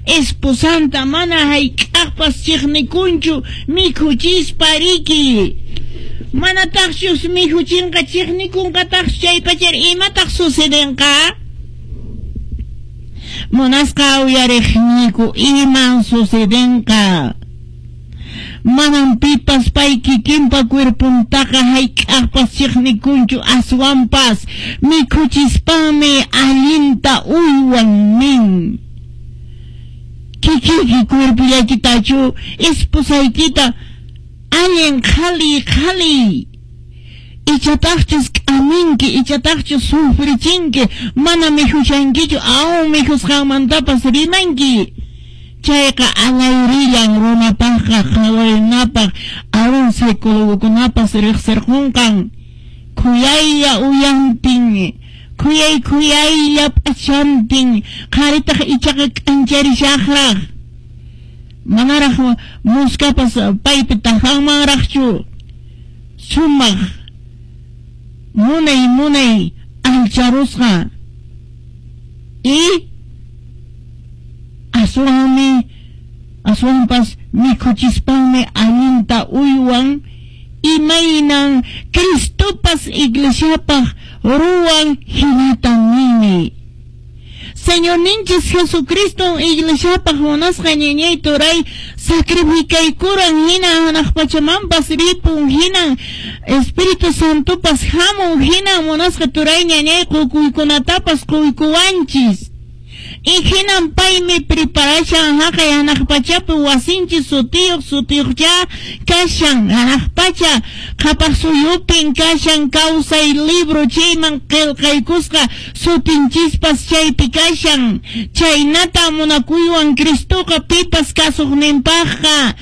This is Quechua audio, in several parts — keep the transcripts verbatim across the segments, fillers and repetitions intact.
Esposanta mana hayk'aqpas chiqnikunchu mikhuchispa riki. Manataqchus mikhuchinqa chiqnikunqataqchu chaypachar imataq sucedenqa? Munasqa uyariqniyku iman sucedenqa. Manan pipas pay kikinpa cuerpuntaqa hayk'aqpas chiqnikunchu aswanpas mikhuchispanmi allinta uywan nin. Kikiyki cuerpullaykitachu esposaykita allin qhali qhali ichataqchus k'aminki ichataqchus sufrichinki mana mikhushankichu aún mikhusqanmantapas rimanki. Chayqa alayrillan runapaqqa qhawarinapaq aún psicólogokunapas riqsirqunqan khuyaylla uyantin khuyay khuyaylla p'achantin qharitaq ichaqa k'ancharishaqraq manaraq muskapas paypi tajanmanraqchu sumaq munay munay alcharusqa y aswanmi aswanpas mikhuchispanmi allinta uywan imaynan Cristopas iglesiapaq ruwan hinatan nini. Señorninchis Jesucristo iglesiapaq munasqa ñañay turay sacrificaykuran hina hanaq pachamanpas ripun hinan Espíritu Santopas hamun hinan munasqa turay ñañay qukuykunatapas quykuwanchis. Y hinan paymi preparashan haqay hanaq pachapi wasinchis sutiyuq sutiyuqcha kashan hanaq pacha qhapaq suyupin kashan kawsay libro chayman qillqaykusqa sutinchispas chaypi kashan chaynata munakuywan Cristoqa pipas kasuqninpaqqa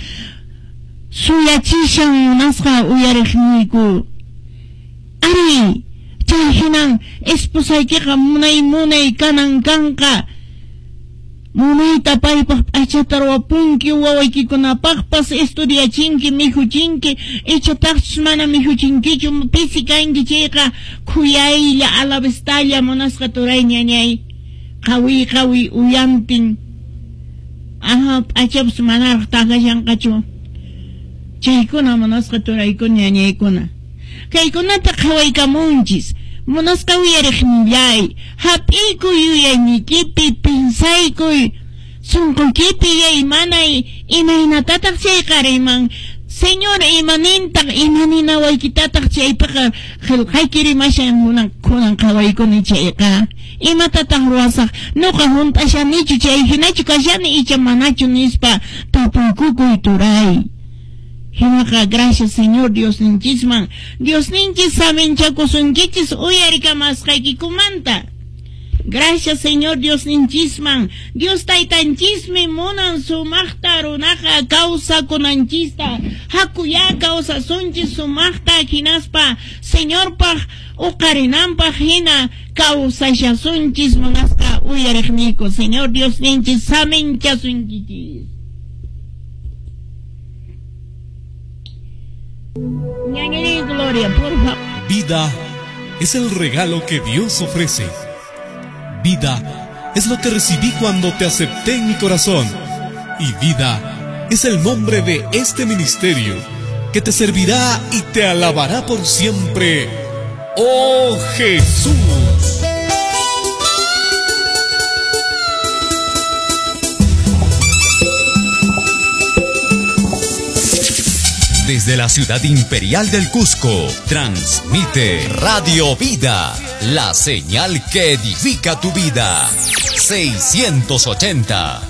suyachishan munasqa uyariqniyku. Ari chay hinan esposaykiqa munay munay kanan kanqa munayta paypaq p'achata ruwapunki wawaykikunapaqpas estudiachinki mikhuchinki ichataqchus mana mikhuchinkichu pisi kanki chayqa khuyaylla alavestalla munasqa turay ñañay qawi qawi uyantin aha p'achapas manaraq takashanqachu chaykuna munasqa turaykuna ñañaykuna kaykunata qhawaykamunchis munasqa uyariqnillay hap'ikuy yuyaynikipi pinsaykuy sunquykipi yaymanay imaynatataq chayqa riman Señor imanintaq imaninawaykitataq chaypiqa qillqayki rimashan munan kunan qhawaykuni chayqa imatataq ruwasaq nuqa hunt'ashanichu chay hinachu kashani icha manachu nispa tapuykukuy turay. Hinaqa gracias Señor Diosninchisman Diosninchis saminchakusunkichis uyarikamasqaykikumanta. Gracias Señor Diosninchisman Dios taytanchismi munan sumaqta runaqa kawsakunanchista hakuya kawsasunchis sumaqta hinaspa Señorpaq uqarinanpaq hina kawsashasunchis munasqa uyariqniyku Señor Diosninchis saminchasunkichis. Gloria, por favor. Vida es el regalo que Dios ofrece. Vida es lo que recibí cuando te acepté en mi corazón. Y vida es el nombre de este ministerio que te servirá y te alabará por siempre. ¡Oh Jesús! Desde la ciudad imperial del Cusco, transmite Radio Vida, la señal que edifica tu vida. seiscientos ochenta.